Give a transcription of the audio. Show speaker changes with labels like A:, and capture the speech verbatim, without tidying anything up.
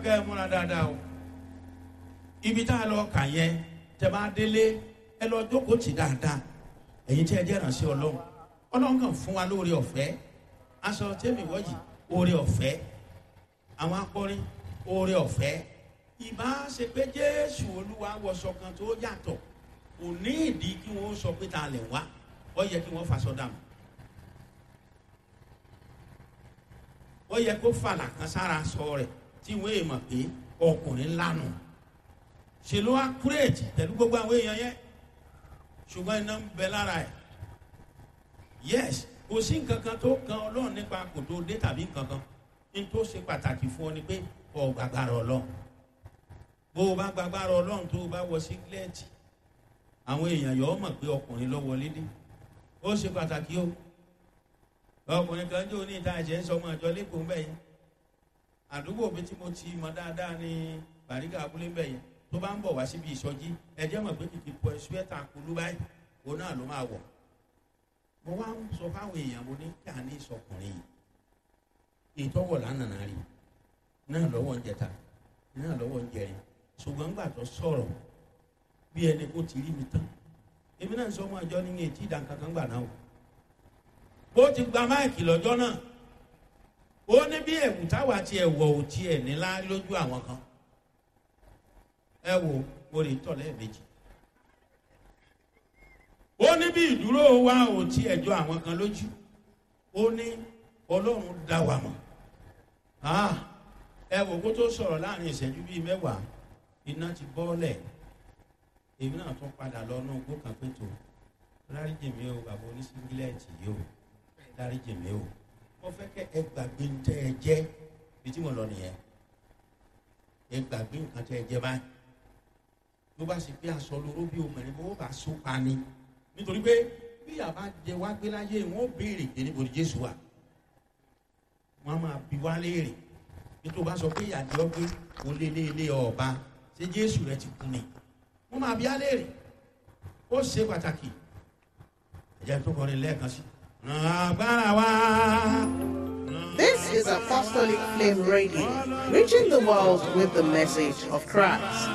A: kẹ́ ẹ múra dáadáa o. Ibi tá a lọ kà yẹn, tẹ́ bá délé, ẹ lọ jókòó tì dáadáa. Ẹ̀yin tí ẹ jẹ́ ìrànṣẹ́ Ọlọ́run, Ọlọ́run kàn fún wa lóore ọ̀fẹ́. Aṣọ tẹ́mi wọ́yì, oore ọ̀fẹ́. Àwọn akọrin, oore ọ̀fẹ́. Ìbá ṣe pé Jésù Olúwa wọṣọ kan tó yàtọ̀, kò ní ìdí kí wọ́n sọ pé ta lẹ̀ wá. Ó yẹ kí wọ́n faṣọ dànù. Ó yẹ kó fàlà kan sára sọ rẹ̀ tí wọ́n èèmọ̀ pé ọkùnrin ńlá nù. Ṣe ló wá kúrèjì pẹ̀lú gbogbo àwọn èèyàn yẹn, ṣùgbọ́n iná ń bẹ lára ẹ̀. Yes, kò sí nǹkan kan tó kan Ọlọ́run nípa kò tó dé tàbí nǹkan kan. Ní tó ṣe pàtàkì fún ọ ni pé ọ gbàgbára Ọlọ́run. Bó o bá gbàgbára Ọlọ́run, tó o bá wọ sígílẹ́ẹ̀tì, àwọn èèyàn yọ ọ mọ̀ pé ọkùnrin ló wọlé dé. Ó ṣe pàtàkì o. Ọkùnrin kan jó ní ìta ẹ̀jẹ̀ ń sọ ọmọ àjọ lẹ́kọ̀ọ́ ń bẹ̀ yẹn. Àdúgbò mi tí mo ti mọ dáadáa ní Bàrígà abúlé ń bẹ̀ yẹn. Tó bá ń bọ̀ wá síbi ìsọjí, ẹjẹ́ mọ̀ pé kìkì pọ̀ ṣúẹ́tà kulú báyìí, òun náà ló máa wọ̀. Mo wá ń sọ fáwọn èèyàn, mo ní kí a ní ìsọkùnrin yìí. Ìtọ́wọ̀ lánàá rí náà lọ́wọ́ ń jẹta, náà lọ́wọ́ ń jẹrin. Ṣùgbọ́n gbà tó sọ̀rọ̀ bí ẹni kó ti rí mi tán, èmi náà sọ ọmọ àjọ ní etí ìdánkankan gbà náà o. Ó ti gba máìkì lọ́jọ́ náà. Ó ní bí ẹ̀wù táwa ti ẹ̀wọ̀ ò tiẹ̀ nílá lójú àwọn kan. Ẹ wo, mo lè tọ̀ lẹ́ẹ̀mejì. Ó ní bí ìdúró wa ò tí ẹjọ́ àwọn kan lójú. Ó ní Ọlọ́run dá wa mọ̀. Ẹ wò kó tó sọ̀rọ̀ láàrin ìṣẹ́jú bíi mẹ́wàá, iná ti bọ́ọ̀lẹ̀. Èmi náà tún padà lọ náà gbó kan pé tó dáríjì mi o, bàbá oníṣíngílẹ̀tì yìí o, dáríjì mi o. Mo fẹ́ kẹ́ ẹ gbàgbé ń tẹ́ ẹ jẹ́ bí tí mo lọ nìyẹn. Ẹ gbàgbé nǹkan tẹ́ ẹ jẹ́ báyìí. Ló bá sì pé aṣọ lóró bí obìnrin bó bá so pa ni, nítorí pé bí àbá jẹ wá gbé láyé, wọn ó béèrè pé níbo ni Jésù wà. Wọn á máa bi wá léèrè bí tó bá sọ pé ìyàdí ọgbẹ kò lé lé lé ọba, ṣé Jésù rẹ ti kú ni? Wọn máa bi á léèrè. Ó ṣe pàtàkì. Ẹ̀jẹ̀ tó kọrin lẹ́ẹ̀kan sí. Agbára wa.
B: This is Apostolic Flame Radio, reaching the world with the message of Christ.